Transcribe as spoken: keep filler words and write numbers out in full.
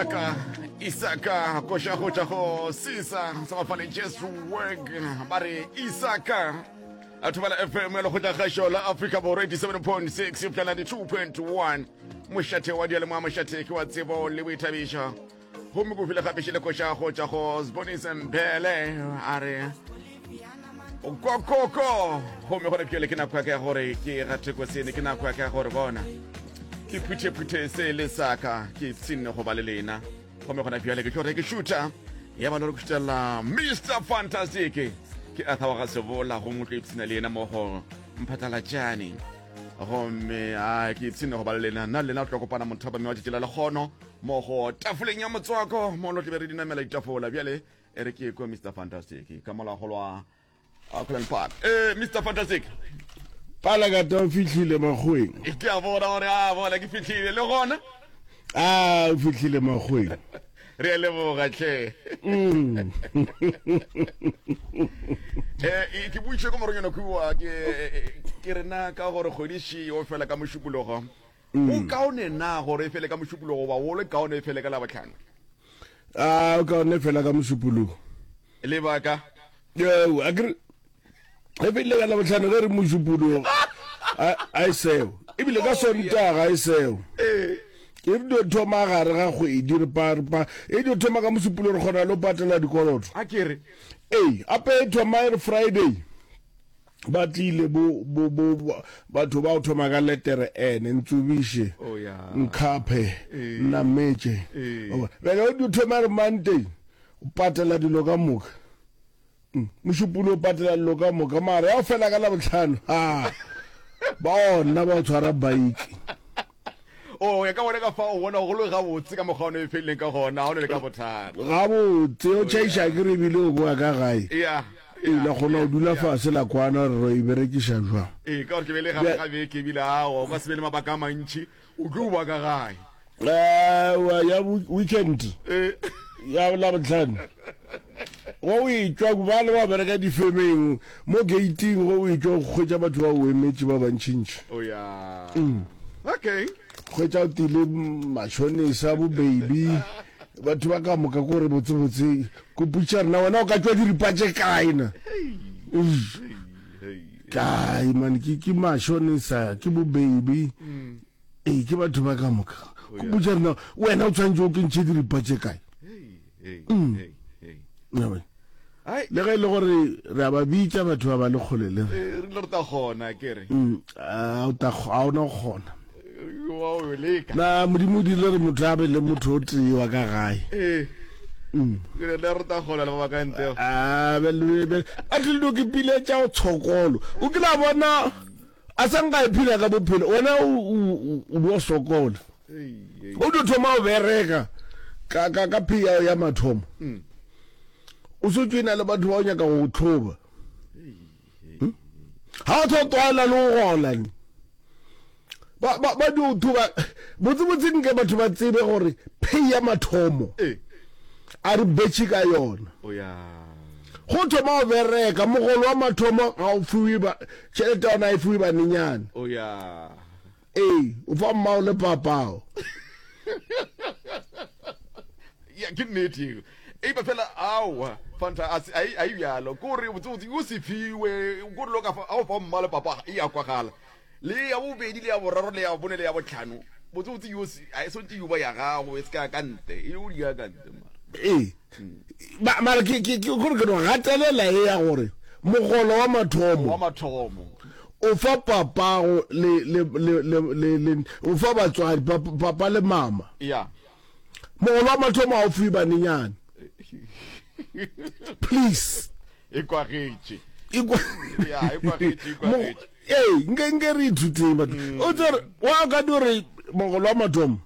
Isaka Isaka koša go tša go sisa sa bafale Jesu work ba re Isaka a thobela F M ya lekgotla kgašo la Afrika Borwa eighty-seven point six epša ninety-two point one, mošate wa dialemoa, mošate ke wa tsebo le boithabišo. Gomme ko file gape šele koša go tša go Sbonise Mbele, a re kokoko. Gomme gona bjale ke nako ya ka ya gore ke gate kosene, ke nako ya ka ya gore bona ke phuthephuthe se le saka ke ipshinne go ba le lena. Gomme gona bjale ke tlo re ke šutha ya ba le gore ke šutela Mister Fantastic, ke Arthur wa ga Sebola, gomme o tlo ipshina le yena mo go Mphatlalatšane. Gomme a ke ipshinne go ba le lena, nna le lena o tlo kopana mothapame wa tšatši la lekgono mo go tafoleng ya motswako, mo lo tlebe re dinamela ditafola. Bjale e re ke kwe Mister Fantastic ka molagolo wa Auckland Park. eh Mister Fantastic. Palakata, o fihlile makgoweng. Ke a bona gore a bona ke fihlile le gona. A o fihlile makgoweng. Re a leboga tlhe. Mm. eh ke buitše ko moronyana kua, ke ke rena ka gore kgwedi o fela ka Mošupologo. O kaone na gore e fele ka Mošupologo ba o le kaone e fele ka Labotlhano? A o kaone fela ka Mošupologo. Lebaka? Eo, a kere e fedile ka Labotlhano, ge re Mošupologo a e seo, ebile ka Sontaga e seo. Ee. E re dio thoma gare ga kgwedi, re pa re pa e dio thoma ka Mošupologo, re kgona le go patela dikoloto. A ke re. Ee, ape e thoma e re Friday ba tlile bo bo bo bo- batho ba o thoma ka letere N, ntsobiše, Oh ya. nkhaphe, Ee. nnametše. Ee. Bjale o dio thoma re Monday o patela dilo ka moka. Mm, Mošupologo o patela dilo ka moka, mara ya o fela ka Labotlhano, ha ba ona ba o tshwara bike. O ya ka bona ka fa o bona go le gabotse ka mokgwa o ne e feleleng ka gona, ga o ne le ka bothata. Gabotse o tšhaiša ke re ebile o boa ka gae. Ya. Ee, la kgona go dula fase la kwana gore re e berekiša jwang. Ee, ka gore ke be le gare ga beke, ebile ao o ka se be le mabaka a mantši, o tlo boa ka gae. Aowa, ya weekend. Ee. Ya Labotlhano go o etšwa, ba le ba bereka difemeng mo gating, go o etšwa go hwetša batho ba o emetše ba bantšintši. O ya. Mm. Okay. Hwetša o tile mashonisa, bo baby, batho ba ka moka ko re botsebotse ko putša rena, wena o ka tšwa diripa tše kae na? Hey, hey. Kae man, ke ke mashonisa, ke bo baby. Ee, ke batho ba ka moka ko putša rena, wena o tshwanetse o kentšhe diripa tše kae? Hey, hey, Mm. hey, hey. Ya bona. Ai, Le ge e le gore re a ba bitša batho ba ba le kgole le re. Eh, re ile re tla kgona ke re. Mm, a o tla a ona go kgona. Wa o leka. Na Modimo o dirile gore motho a be le motho o tee wa ka gae. Ee. Mm. Ke re le re tla kgona le ba ba ka ntle. A be le be a tlile do ke pile tša go tshokolo. O kile a bona a sa nka e phela ka bophelo, wena o o o bo sokola. Hey, hey. O tlo thoma o bereka ka ka ka pay ya ya mathomo. Mm. O se tšwena le batho ba o nyaka go tlhoba. Ha o tlo tlwaela le go gola ni. Ba ba ba di o thuba botse botse, nke batho ba tsebe gore pay ya mathomo Ee. a re betšhe ka yona. O ya. Go thoma o bereka, mogolo wa mathomo ga o fiwe ba tšhelete ya ona, e fiwe banenyana. O ya. Ee, o fa mmao le papao. Ya, ke nnete eo. Eipa fela aowa, Fanta a se ai ai bjalo. Ko re botse botse o se fiwe, ko re lo ka fa a o fa mma le papa e ya kwagala. Le ya bobedi le ya boraro le ya bone le ya botlhano. Botse botse yo se a e sontse yo ba ya gago e se ka ka ntle. E o di ya ka ntle mara. Ee, Ba- mara ke ke ke gore ke no gatelela e ya gore mogolo wa mathomo Wa mathomo. o fa papago le le le le le le o fa batswadi, papa, papa le mama. Ya. Mogolo wa mathomo ga o fiwe banenyana, please. E kwagetše. E kwa- Ya, e kwagetše, e Mo- kwagetše. Ee, nke nke re ithuteng batho o tsere wa ka di gore mogolo wa mathomo